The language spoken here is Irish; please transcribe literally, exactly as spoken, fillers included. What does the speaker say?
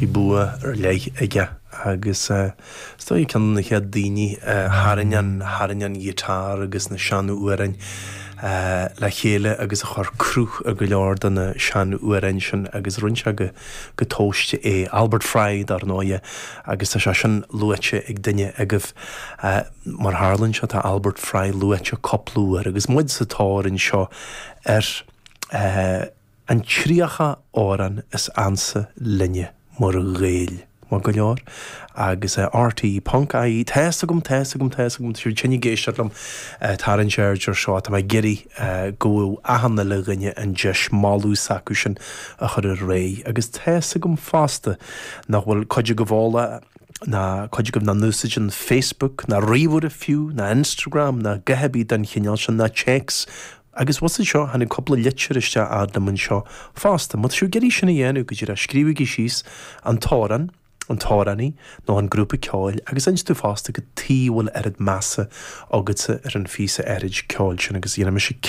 Bhí bua ar leith aige agus is dóigh ceann de na chéad daoine a tharraing an tharraing an ghiotár agus na seanamhráin le chéile agus a chur cruth ar go leor de na seanamhráin sin agus rinne sé go go tomhaiste é Albert Fry dar ndóigh agus tá sé sin luaite ag duine agaibh mar tharlaíonn sé tá Albert Fry luaite cúpla uair agus muid sa tóir anseo ar an tríocha amhrán is ansa linne mar Ghaeil. Maith go leor agus RTÉ ponc IE Tá's agam tá's agam tá's agam tú tinn ag éisteacht liom tarraingt aird air seo tá mé ag iarraidh go bhfuil achan uile dhuine an deis moladh s'acu sin a chur ar aghaidh agus tá's agam fosta nach bhfuil cuid agaibh eolach ná cuid agaibh nach n-úsáideann Facebook ná ríomhaire fiú ná Instagram ná a dhath ar bith den chineál sin ná téacs agus bhus seo tháinig cúpla litir isteach agam anseo fosta, Má tá sibh ag iarraidh sin a dhéanamh go díreach scríobhaigí síos an t-amhrán, an t-amhránaí nó an grúpa ceoil agus inis tú fosta cad tuige a bhfuil oiread measa agatsa ar an phíosa áirid ceoil sin agus dhéanfaidh mise